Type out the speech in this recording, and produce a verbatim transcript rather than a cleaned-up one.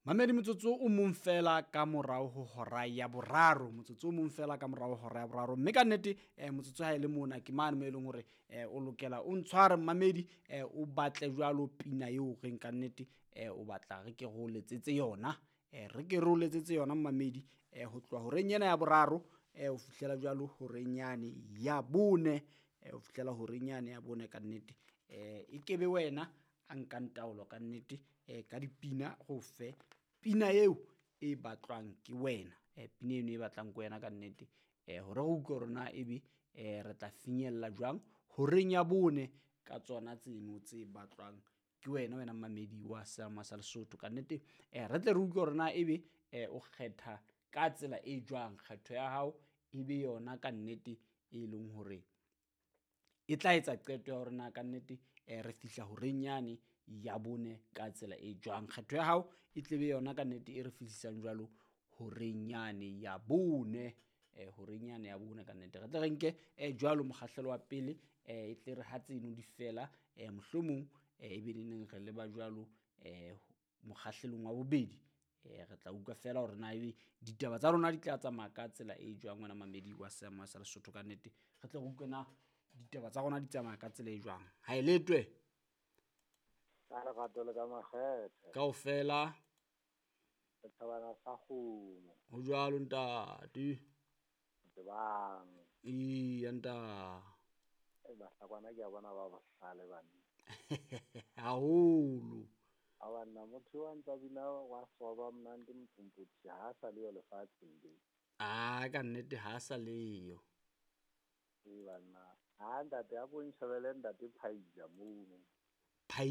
Mamedi, motsotso o mong fela ka morao ho hora ya boraro, motsotso o mong fela ka morao ho hora ya boraro. Mme ka nnete eh, motsotso ha e le mona ke mane mo e leng hore eh, o lokela o ntshware mmamedi, eh, o batle jwalo pina eo reng ka nnete eh, o batla re ke re o letsetse yona, eh, re ke re o letsetse yona mmamedi, eh, ho tloha horeng ena ya boraro eh, ho fihlela jwalo horeng yane ya bone, eh, ho fihlela horeng yane ya bone ka nnete eh, e kebe wena a nkang taolo ka nnete eh, ka dipina go fe pina eo e batlwang ke wena, eh, pina eno e batlang ke wena ka nnete eh, hore re utlwe hore na ebe eh, re tla finyella jwang horeng ya bone ka tsona tseno tse batlwang ke wena, wena mmamedi wa Seama sa Lesotho ka nnete eh, re tle re utlwe hore na ebe eh, o kgetha ka tsela e jwang, kgetho ya hao e be yona ka nnete e leng hore e tla etsa qeto ya hore na ka nnete eh, re fihla horeng yane ya bone ka tsela e jwang. Kgetho ya hao e tlebe yona ka nnete e re fihlisang jwalo horeng yane ya bone, eh, horeng yane ya bone ka nnete. Re tle re nke eh, jwalo mokgahlelo wa pele eh, e tle re ha tseno di fela eh, mohlomong eh, e be neneng re leba jwalo eh, mokgahlelong wa bobedi. Eh, re tla utlwa fela hore na ebe ditaba tsa rona di tla tsamaya ka tsela e jwang, wena mamedi wa Seama sa Lesotho ka nnete. Re tle re utlwe na ditaba tsa rona di tsamaya ka tsela e jwang. Ha e letwe ka lerato le ka makgethe kaofela setjhabana sa kgomo ho jwalo ntate. Tsebang Eya ntate. E bahlakwana ke a bona ba bohlale banna haholo. A banna motho wa ntsa bina wa soba mnandi mthombothi ha sa leyo lefatsheng be. Ah, ka nnete ha sa leyo. E banna ha ntate a ko nshebele ntate Phaila mono.